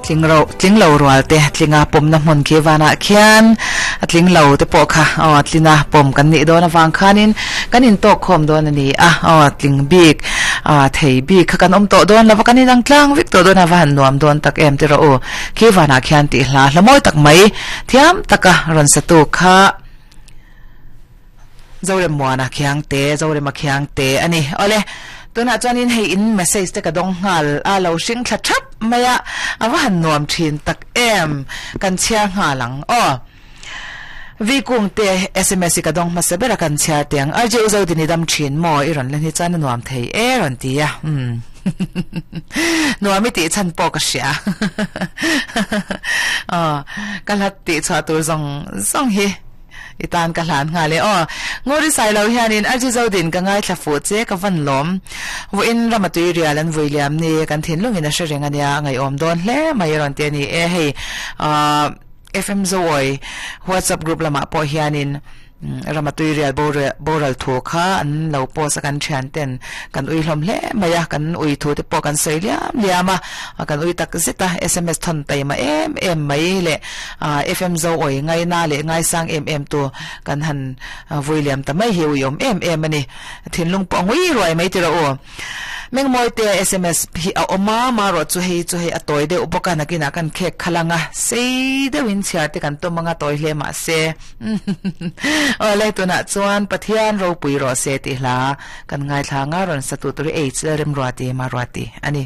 Tling ro tling lo rual te tlinga pawmna hmun khi vanah khian a tling lo te pawh kha aw tlina pawm kan nih dawn avang khanin kan intawk khawm dawn a ni a aw tling bik ah thei bik kha kan awm tawh dawn lova kan inang tlang vek tawh dawn a va han nuam dawn tak em ti rawh u khi vanah khian tih hla hla mawi tak mai thiam taka rawn satu kha Zoremmuana khiang te, Zorema khiang te a ni. Awle, tunah chuanin hei in message te ka dawng nghal a, lo hring thla thap mai a, a va han nuam thin tak em, kan chhiar nghal ang aw. Vi kung te sms hi ka dawng hmasa ber a kan chhiar teh ang. RJ U Zodin i dam thin maw? I rawn len hi chuan a nuam thei e rawn ti a. Umm. Nuam i tih chhan pawh ka hria. Aw, ka hlat tih chhuah tur zawng zawng hi. I tan ka hlan nghal e aw. Nguri Sailo hianin Arji Zodin ka ngaithla fuh che ka van lawm. Vawiin rama tui rial an vui liam ni kan thinlungin a hre reng ania a ngaihawm dawn hle mai a rawn ti a ni e. Hei ahh FM Zoawi WhatsApp group lamah pawh hianin rama tui rial boral thu kha an lo post a kan thian ten kan ui hlawm hle mai a kan ui thu te pawh kan sawi liam liam a kan ui tak zet a sms thawn taima em em mai leh Aaa FM zo awi ngaina leh ngaisang em em tu kan han vui liam ta mai hi ui awm em em a ni. Thinlung pawh a ngui ruai mai tiraw u. Mengmawi te sms hi a awm a, marawh chu hei chu hei a tawi deuh bawk a, nakinah kan khek khalh ang a, sei deuhin chhiar te kan tum ang a, tawi hle mahse. Awle tunah chuan Pathian ropui rawh se tih hla kan ngaithla ang a, rawn sa tu tur hi H Lalremruati Maruati a ni.